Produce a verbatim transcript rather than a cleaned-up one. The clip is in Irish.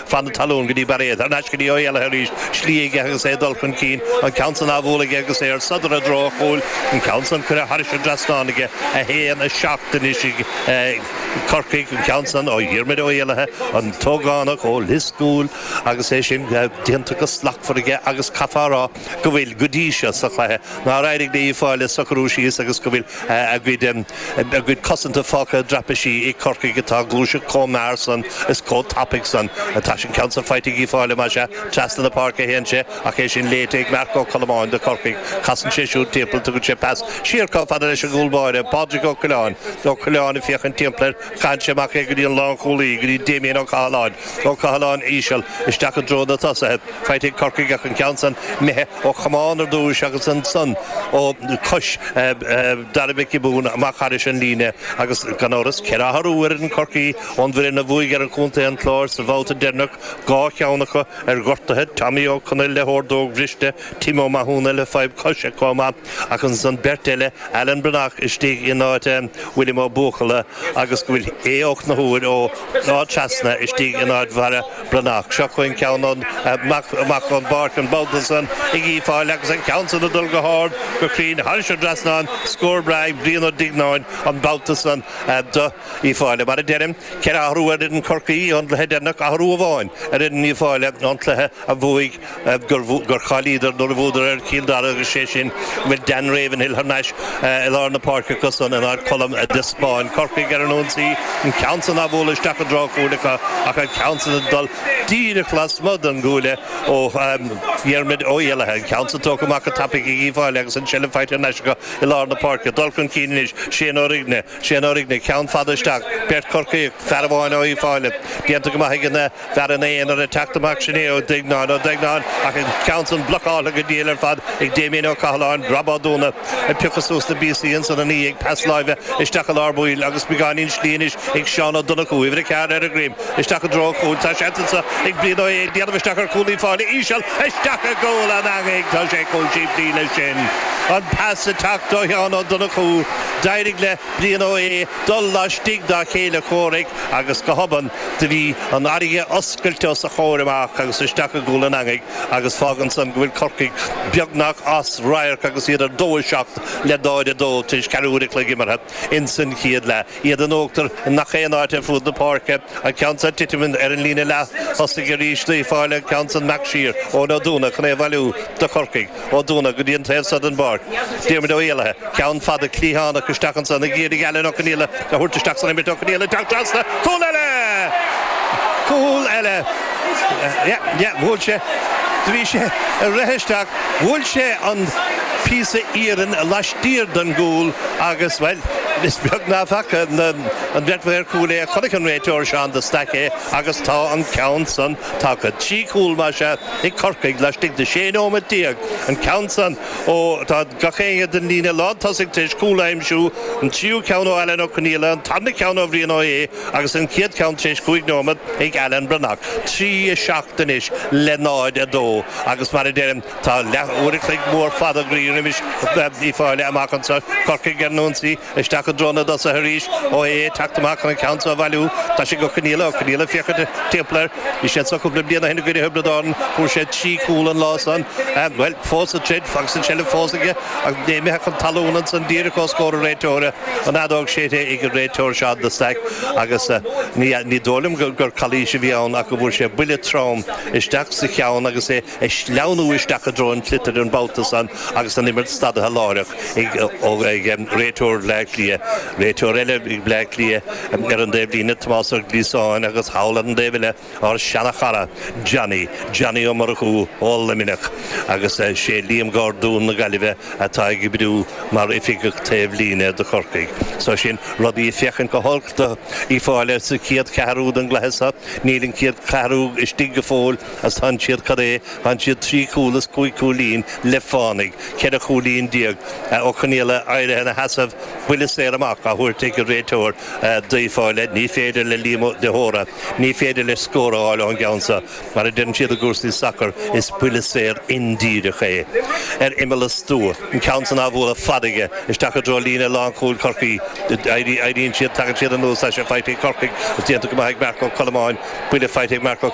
Fan na talún go dtí Bairéad thar n-ais go dtí Ó hÉallaithe arís, slí aige agus é ag dul chun cinn, an ceann san á bhualadh aige agus é ar sodar i dtreo an chúil, an ceann san curtha thairis an dtrasnán aige, a haon, a seacht anois ag Corcaigh, an ceann san ó Dhiarmuid Ó hÉallaithe, an t-ógánach ó Lios Cúil agus é sin déanta go slachtmhar aige agus caithfear a rá go bhfuil go dtí seo sa chluiche nár éirigh le Uíbh Fhailí socrú síos agus go bhfuil a gcuid a gcuid cosanta fágtha i dtraipisí ag Corcaigh atá ag gluaiseacht chomh mear san is chomh tapaidh san. Tá an ceann san faighte ag Uíbh Fhailí, más ea, trasna na páirce a théann sé ach é sin léite ag Marc Ó Colmáin do Chorcaigh. Casann sé siúd timpeall, tugann sé pas siar chomh fada leis an gcúl báire, Pádraig Ó Coileáin. Ó Coileáin ag féachaint timpeall air, caitheann sé amach é go dtí an lánchúlaí, go dtí Damien Ó Cathaláin. Ó Cathaláin íseal isteach i dtreo na tosaithe. Faighte ag Corcaigh ach an ceann san imithe ó chamán ar dtúis agus ansan ó chois Dara Mhic Giobúin amach thairis an líne agus gan amhras ceithre athrú ar fhoireann Chorcaí ón bhfoireann a bhuaigh ar an chontae an Chláir sa bhabhta deireanach, dhá cheann acu ar ghortuithe, Tommy Ó Conaill le hordóg bhriste, Tim Ó Mathúna le fadhb coise chomh maith ach ansan beirt eile, Alan Breathnach istigh in áit William Ó Buachalla agus go bhfuil Aodh Ó Conchúir ó Áth Trasna istigh in áit Bharra Breathnach. Seo chugainn ceann amach amach ón bpáirc an babhta san ag Uíbh Fhailí agus an ceann san ag dul go hard, go cruinn thairis an dtrasnán, scór breá ag Brian Ó Duigneáin an babhta san do Uíbh Fhailí. Mar a deirim, ceithre athrú ar fhoireann Chorcaí ón gcluiche deireanach, athrú amháin ar fhoireann Uíbh Fhailí ón cluiche a bhuaigh gur chailleadar nuair a bhuadar ar Chill Dara agus sé sin go bhfuil Dan Ravenhill thar n-ais i lár na páirce acu san in áit Colm de Spáinn. Corcaigh ar an ionsaí, an ceann san á bhualadh isteach i dtreo an chúil acu ach an ceann san ag dul díreach lasmuigh den gcuaille ó Dhiarmuid Ó hÉallaithe. An ceann san tógtha amach go tapaidh ag Uíbh Fhailí agus an tseilbh faighte thar n-ais acu i lár na páirce. Dul chun cinn anois, Shane Ó Righne, Shane Ó Righne, ceann fada isteach, beirt Chorcaíoch, fear amháin ó Uíbh Fhailí. Déanta go maith ag an bhfear ina aonar ag teacht amach, sin é Ó Duigneáin, Ó Duigneáin ach an ceann san blocáltha go diail ar fad ag Damien Ó Cathaláin, Rob Ó Dúna ag piocadh suas na bpíosaí ansan ina dhiaidh, pas láimhe isteach i lár baill agus beagáinín slí anois ag Seán Ó Donnchú, uimhir a ceathair ar a dhroim, isteach i dtreo an chúil. Tá seans anso ag Brian Ó hAodha déanamh isteach ar chúl Uíbh Fhailí, íseal isteach i gcúl an eangaigh. Tá sé chomh simplí leis sin. An pas ag teacht ó Sheán Ó Donnchú, d'éirigh le Brian Ó hAodha dul laistigh dá chéile comhraic agus go hobann do bhí an fharraige oscailte os a chomhair amach agus isteach i gcúl an eangaigh agus fágann san go bhfuil Corcaigh beagnach as radharc agus iad ar dó a seacht le náid a dó tar éis ceathrú uair a chloig imeartha ins an chéad leath. Iad in uachtar i ngach aon áit ar fud na páirce. An ceann san ag titim ar an líne leath-thosaigh arís d'Uíbh Fhailí, an ceann san amach siar Eoin Ó Dúna chun é a bhailiú do Chorcaigh. Ó Dúna go dtí an taobh seo den bpáirc. Diarmuid Ó hÉallaithe, ceann fada cliathánach isteach ansan ag iarraidh Alan Ó Conaola a thabhairt isteach san imirt. Ó Conaola ag teacht trasna. Cúl eile! Cúl eile! Yeah, yeah, bhuail sé, do bhí sé ag rith isteach, bhuail sé an píosa iarainn laistiar den gcúl agus, bhuel, is beag ná faca an bheirt mhaor cúil é, chonaic an réiteoir Seán de Staic é agus tá an ceann san tagtha. Trí chúl, más ea, ag Corcaigh laistigh de sé nóiméad déag. An ceann san ó, tá gach éinne den líne lántosaigh tar éis cúl a aimsiú, an tríú ceann ó Alan Ó Conaola, an tarna ceann ó Bhrian Ó hAodha agus an chéad cheann tar éis cúig nóiméad ag Alan Breathnach. Trí a seacht anois le náid a dó agus mar a deirim tá leath uair a chloig mór fada groí roimis Uíbh Fhailí amach anseo. Corcaigh ar an ionsaí isteach i dtreo na dtosaithe arís. Ó hAodha ag teacht amach chun an ceann seo a bhailiú. Tá sé ag Ó Conaola. Ó Conaola ag féachaint timpeall air. Bhí sé anseo cúpla bliain ó shin i gcoinne Thiobraid Árann. Fuair sé trí chúl an lá san. Bhuel, fós ag troid agus an tseilbh fós aige ach é imithe chun talún ansan díreach os comhair an réiteora. An fheadóg séidte ag an réiteoir Seán de Staic agus ní dóigh liom gur calaois a bhí ann ach go bhfuair sé buille trom isteach sa cheann agus é ag sleamhnú isteach i dtreo an tsliotair an babhta san agus an imirt stadaithe láithreach ag réiteoir Bhleá Cliath. Réiteoir eile ag Bleá Cliath ar an dtaobh líne, Tomás Ó Gliasáin agus thall ar an dtaobh eile ár seana-chara Johnny, Johnny Ó Murchú ó Luimneach agus sé Liam Gordún na Gaillimhe atá ag oibriú mar oifigeach taobh líne do Chorcaigh. So sin rudaí ag féachaint go holc do Uíbh Fhailí sa chéad cheathrú den gcluiche seo. Níl an chéad cheathrú istigh go fóill agus tánn siad, cad é, tánn siad trí chúl is cúig chúilín le fánaidh, ceithre chúilín déag. Ó Conaola éirithe ina sheasamh, buille saor. saor amach á thabhairt ag an réiteoir daofa le ní féidir le Liam de hÓra, ní féidir leis scór a fháil ón gceann seo mar a deireann siad i gcúrsaí sacair is buille saor indíreach é. Ar imeall an stua, an ceann san á bhualadh fada aige isteach i dtreo líne lánchúil Chorcaí éiríonn siad tagann siad anuas é faighte ag Corcaigh is déanta go maith ag Marc Ó Colmáin buille faighte ag Marc Ó